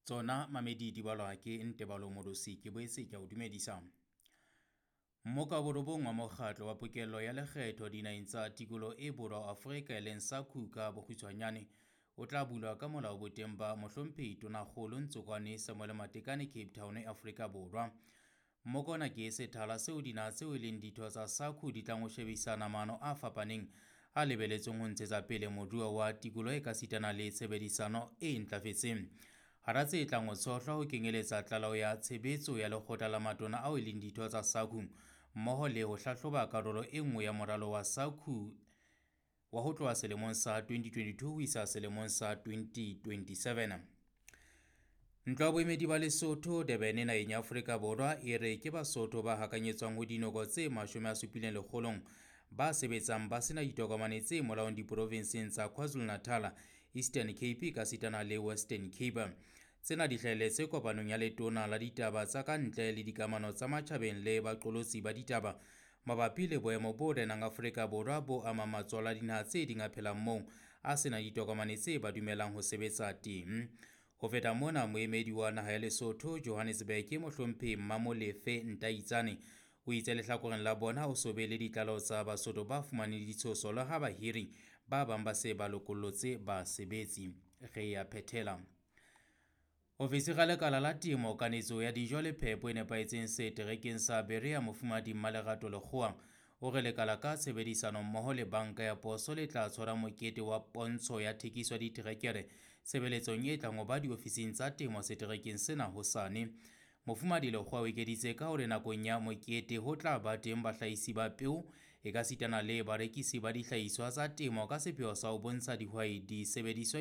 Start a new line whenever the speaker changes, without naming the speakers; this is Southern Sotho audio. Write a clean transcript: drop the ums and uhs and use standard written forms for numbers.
Tsona mamedi di balwa ke Ntebalo Modosi ke boetse ke a o dumedisa. Mmoka wa borobong wa mokgatlo wa pokello ya lekgetho dinaheng tsa tikoloho e borwa Afrika e leng SACU ka bokgutshwanyane o tla bulwa ka molao boteng ba mohlomphehi Tonakgolo Ntsokwane Samuel Matekane Cape Town Afrika Borwa. Mmoka ona ke sethala seo dinaha tseo e leng ditho tsa SACU di tlang ho shebisana maano a fapaneng a lebeletsweng ho ntshetsa pele moruo wa tikoloho ekasitana le tshebedisano e ntlafetseng. Hara tse tlang ho tshohlwa ho kenyeletsa tlaleho ya tshebetso ya lekgotla la matona ao e leng ditho tsa SACU mmoho le ho hlahloba karolo e nngwe ya moralo wa SACU wa ho tloha selemong sa 2022 ho isa selemong sa 2027. Ntlo ya boemedi ba Lesotho Durban naheng ya Afrika Borwa e re ke Basotho ba hakanyetswang ho dinoko tse 70 ba sebetsang ba sena ditokomane tse molaong diprovinseng tsa KwaZulu-Natal, Eastern Cape ekasitana le Western Cape. Tsena di hlahelletse kopanong ya letona la ditaba tsa ka ntle le dikamano tsa matjhabeng le baqolotsi ba ditaba mabapi le boemo bo renang Afrika Borwa bo amang matswalo a dinaha tse ding a phelang moo a senang ditokomane tse ba dumelang ho sebetsa teng. Ho feta mona, moemedi wa naha ya Lesotho Johannesburg mohlomphehi Mmamolefe Ntaitsane o itse lehlakoreng la bona ho so be le ditlaleho tsa Basotho ba fumaneng ditshoso le ha bahiri ba bang ba se ba lokollotse basebetsi. Re ya phethela. Ofisiri ya lekala la temo, kanetso ya dijo le phepo e nepahetseng seterekeng sa Berea Mofumahadi Mmalerato Lekgowa o re lekala ka tshebedisano mmoho le banka ya poso le tla tshwara mokete wa pontsho ya thekiso ya diterekere tshebeletsong e tlang ho ba diofising tsa temo seterekeng sena hosane. Mofumahadi Lekgowa o ekeditse ka hore nakong ya mokete ho tla ba teng bahlahisi ba peo ekasitana le barekisi ba dihlahiswa tsa temo ka sepheo sa ho bontsha dihwai disebediswa.